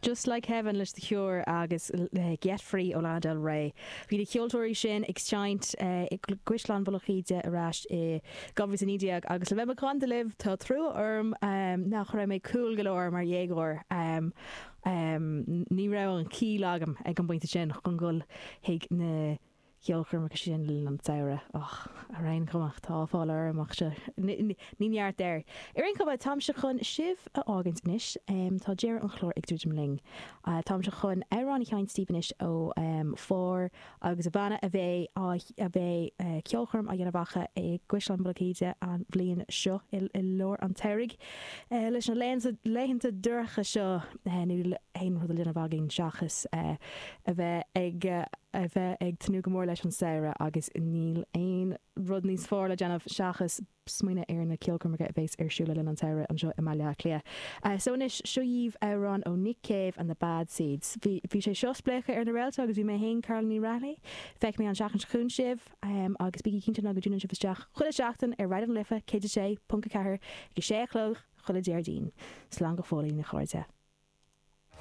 Just Like Heaven leis The Cure agus Get Free ó Lana Del Rey. Bhí na ceoltóirí sin ag seinnt i gCaisleán Mhullach Íde ar ais i 2019 agus le bheith macánta libh tá trua orm nach raibh mé cool go leor mar dhéagóir. Ní raibh an chiall agam ag an bpointe sin chun dul chuig na ceolchoirmeacha sin le linn an tsamhraidh. Och, ar aon chuma, tá áiféala orm ach seo, ní neart air. Ar aon chuma, táimse chun sibh a fhágaint anois. Tá deireadh an chláir ag druidim linn. Táimse chun amhrán a sheinnt daoibh anois ó Phár agus a bhanna a bheidh á, a bheidh ceolchoirm á dhéanamh acu i gCaisleán Mhullach Íde an bhliain seo i lár an tsamhraidh. Leis na laethanta dorcha seo, níl aon rud le déanamh againn seachas a bheith ag a bheith ag tnúth go mór leis an samhradh agus níl aon rud níos fearr le déanamh seachas smaoineamh ar na ceolchoirmeacha a bheas ar siúl le linn an tsamhraidh anseo i mBaile Átha Cliath. So anois, seo dhaoibh amhrán ó Nick Cave and the Bad Seeds. Bhí bhí sé seo Spléachadh ar na Réalta agus bhí mé féin, Carolyn Ní Raghallaigh. Feicfidh mé an tseachtain seo chugainn sibh agus bígí cinnte ná go dtiúnálann sibh isteach chuile sheachtain ar Raidió na Life 106.4 ag 6 a chlog chuile Déardaoin. Slán go fóillín, a chairde.